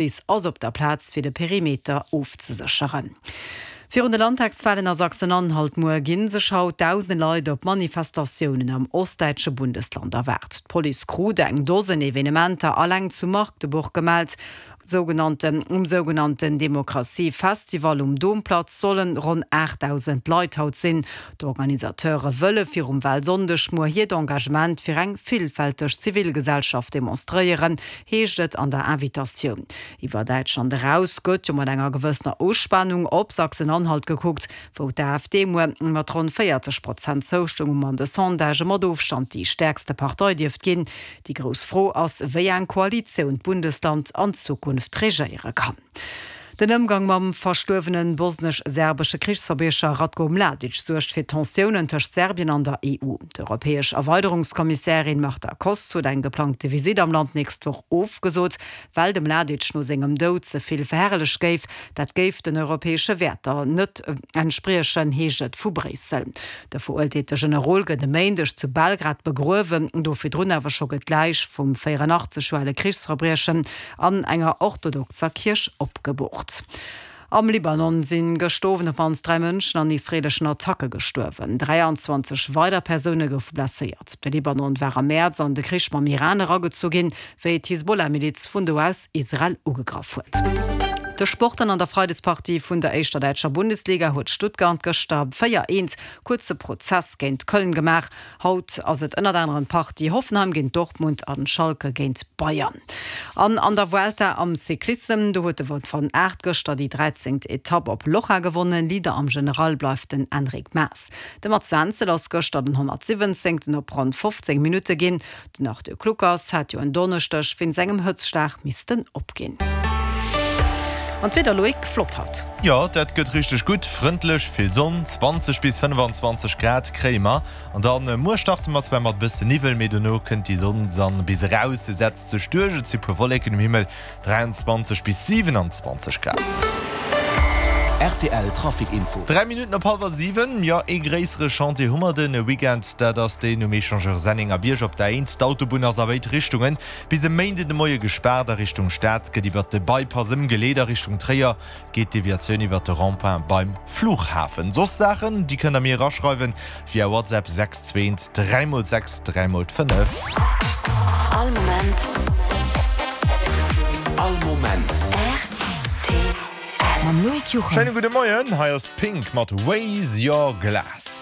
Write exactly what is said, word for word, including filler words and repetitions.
D'Police ass op der Plaz fir de Perimeter ofzesécheren. Virun de Landtagswalen a Sachsen-Anhalt muer gi sech haut dausende Leit op Manifestatiounen am ostdäitsche Bundesland erwaart. D'Police krut eng Dosen Evenementer alleng zu Magdeburg gemellt. Sougenannten Um sougenannten Demokratie-Festival um Domplatz solle ronn aachtdausend Leit haut sinn. D'Organisateure wëlle virum Walsonndeg muer hiert Engagement fir eng villfälteg Zivilgesellschaft demonstréieren, heescht et an der Invitatioun. Iwwer Däitschland eraus gëtt jo mat enger gewëssener Uspanung op Sachsen-Anhalt gekuckt, wou d'AfD muer mat ronn véierzeg Prozent Zoustëmmung an de Sondagë mat Ofstand déi stäerkste Partei dierft ginn. Déi grouss Fro ass, wéi eng Koalitioun d'Bundesland an Zukunft regéiere kann. Den Ëmgang mam verstuerwene bosnesch-serbesche Krichsverbriecher Ratko Mladic suergt fir Tensiounen tëscht Serbien an der E U. D'europäesch Erweiderungskommissärin Marta Kos huet eng geplangte Visitt am Land nächst Woch ofgesot, well de Mladic no sengem Doud ze vill verherrlecht géif. Dat géif den europäesche Wäerter net entspriechen, heescht et vu Bréissel. De verurteelte Generol gëtt e Méindeg zu Belgrad begruewen. Do virdrun awer scho gëtt d'Läich vum véierunachtzeg Joer ale Krichsverbriechen an enger orthodoxer Kierch opgeboort. Am Libanon si gëscht Owend op d'mannst dräi Mënschen an israeeleschen Attacke gestuerwen. dräianzwanzeg weider Persoune goufe blesséiert. De Libanon war am Mäerz an de Krich mam Iran eragezu ginn, wéi d'Hisbollah-Miliz vun do aus Israel ugegraff huet. De Sport an An der Freidespartie vun der éischter däitscher Bundesliga huet Stuttgart gëschter véier eent kuerze Prozess géint Köln gemaach. Haut ass et ënnert anerem d'Partie Hoffenheim géint Dortmund an Schalke géint Bayern. An an der Vuelta am Cyclissem, do huet de Wout van Aert gëschter déi dräizéngt Etapp op Loja gewonnen. Leader am General bleift den Enric Mas. De Mats Wenzel ass gëschter den honnertsiwwenzéngten op ronn fofzéng Minutte ginn. Den Arthur Kluckers hat jo en Donneschdeg wéinst engem Hëtztschlag missten opginn. An d'Wieder, Loïc, flott haut. Jo, dat gëtt richteg gutt, frëndlech, vill Sonn, zwanzeg bis fënnefanzwanzeg Grad kréie mer. An dann muer starte mer zwar mat bësse Niwwel, mee dono kënnt déi Sonn dann bis eraus, se setzt sech duerch, et si puer Wolleken um Himmel, dräianzwanzeg bis siwenanzwanzeg Grad. R T L Trafic Info. Dräi Minutten op hallwer siwen. Jo, ee gréissere Chantier hu mer de Weekend, dat ass deen um Echangeur Sennengerbierg op der Eent. D'Autobunn ass a béid Richtungen bis e Méinden de Moie gespaart. A Richtung Stad gëtt iwwert de Bypass ëmgeleet, a Richtung Tréier geet d'Deviatioun iwwert de Rond-point beim Flughafen. Soss Saachen, déi kënnt der mir eraschreiwen via WhatsApp, sechs zwee dräi mol sechs dräi mol fënnef. All Moment. All Moment. R T L. Mam Loïc Juchem. Schéine gudde Moien, hei ass Pink mat Raise Your Glass.